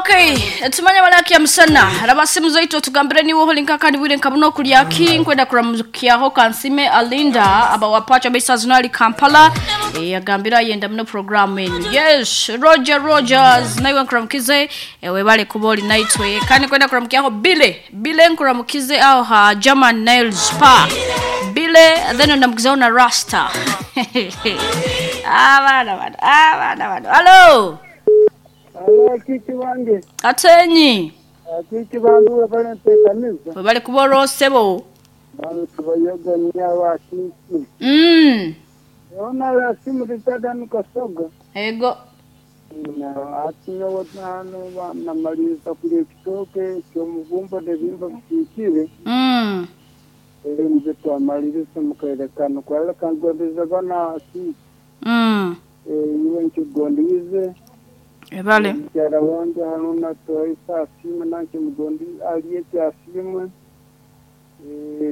Okay, tumanya balaki ya musana. Rabasimu zaitu otugambire niwe holinka kandi bwire nkabuno kulya ki nkwenda kuramukyaho kansime Alinda aba wapacha besa zinali Kampala. Yagambira yenda muno programu enu. Yes, Roger Rogers naiwe nkuramukize webale kuboli naitwe. Kandi kwenda kuramukyaho Bile. Bile nkuramukize aho ha German Nail Spa. Bile then ndamukizaho na Rasta. Abana bana, abana bana. Hello. Alo, kiki wange. Atenyi. Kiki bandu webale nteekaniza. Webale kuba olwosebo. Bantu tubayoga nyawa kiki. Ona la simu ritada nikasoga. Ego. Na ati nyowe hano namaliriza kulya ekitooke ky'omubumba n'ebihimba bisiikire. Nze twamaliriza mukaire kano kwala kangondeza bana kiki. Iwe nkigondize. Ebale. Mukyala wange hano natoisa asiimwe nange mugondi alieti asiimwe.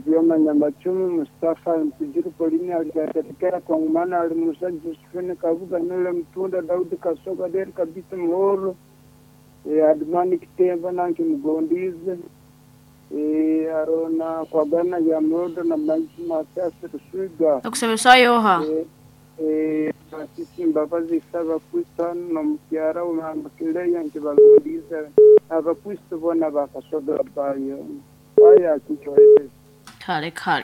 Ryoma Nyamachumu Mustafa Mpijiru Polini alikatekera kwa ngumana ali Musa Josephine Kabuga Nule Mtunda Daudi Kasoga Deri Kabisa Muhoro Admani Kitemba nange mugondize Arona Kwagana ya Mrodo na Maisi Masasi Rusuga Okusebesa yoha. Sisi Mbabazi Saba Kristo no mukyara umambakileya nti bagondize Abakristo bona bakasoga bayo aya kichoete. Kale kale.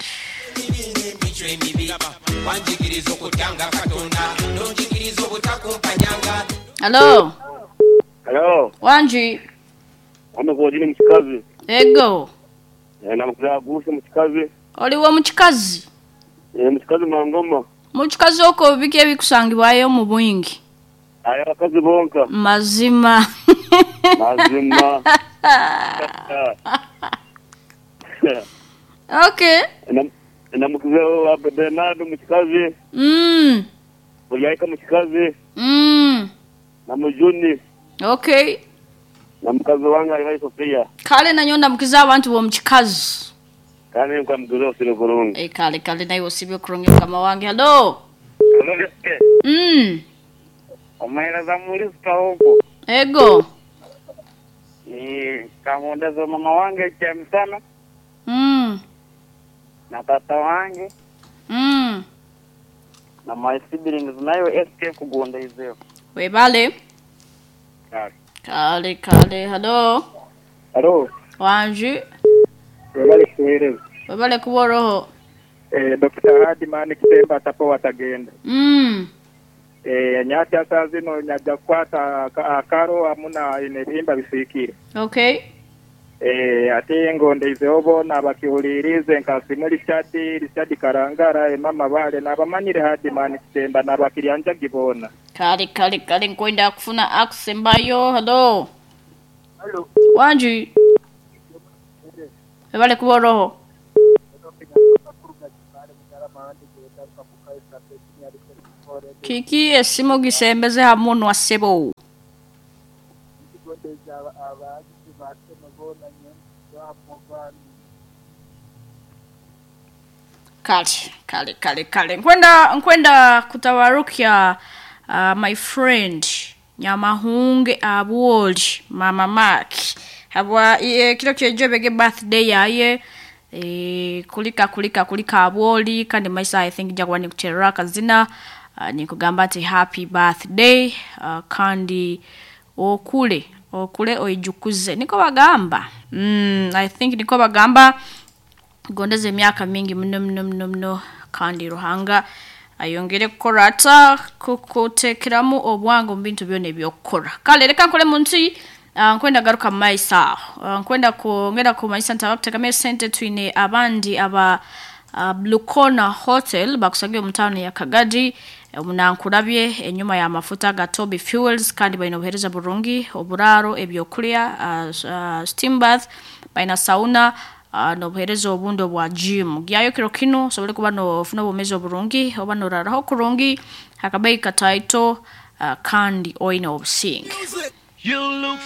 Hello. Hello, Wanji. amavojini mukikazi. Ego. Namukuza guse mukikazi. Oliwo mukikazi. Mukikazi mangoma. Mukikazi okwo biki ebikusangibwayo mu bwingi? Aya bakazi bonka. Mazima. Mazima. Okay. Namukuza Bernardo mukikazi. Bulyaika mukikazi. Na mujuni. Okay. Na mukazi wange ali Sofia. Kale nanyo ndamukiza abantu b'omukikazi. Kale nkamukuza osire kurungi. Kale kale naye osibye kurungi mukama wange. Hello. Hello. Omuheereza mulista ogwo. Ego. Kamundeza mama wange kyemisana. Na tata wange. Na my siblings nayo SK kugunda izeo. Webale. Kale. Kale kale. Hello. Hello. Wanji. Webale kuweereza. Webale kuboroho. Dr. Hadimani Kitemba atapo watagenda. Nyati asa zino nyajja kukwata akaro hamuna ebihimba bisiikire. Okay. Ate ngondeizeho boona bakihulirize nkasimu Richard Karangara emama bale nabamanyire Hadimani Kitemba nabakiryanjagi boona. Kale kale kale nkwenda kufuna akusembayo. Hello. Hello. Wanji. Webale kuboroho. Kiki esimu gisembeze hamunwa sebo. Kale kale kale kale. Nkwenda kutawarukia my friend Nyamahunge Abuoli Mama Mark. Habwa kilo kyejebege birthday yaye. Kulika Abuoli kandi maisa I think jakuwa ni kuterera kazina. Nikugamba ati happy birthday kandi okule oijukuze niko bagamba. I think niko bagamba gondeze emyaka mingi muno muno muno muno kandi Ruhanga ayongere kukora ata kukutekeramu obwangu mu bintu byona ebyokukora. Kale reka nkole mu nsi nkwenda garuka maisa nkwenda kongera ku maisa ntabakuteekamu esente twine abandi aba Blue Corner Hotel bakusabye mu town ya Kagadi omunankurabye enyuma ya mafuta ga Toby Fuels kandi balina obuheereza burungi oburaro ebyokulya steam bath balina sauna n'obuheereza obundi obwa gym gyayo kiro kino osobole kuba nofuna obumezi oburungi oba noraraho kurungi akabeyi kataito kandi oine obusinge.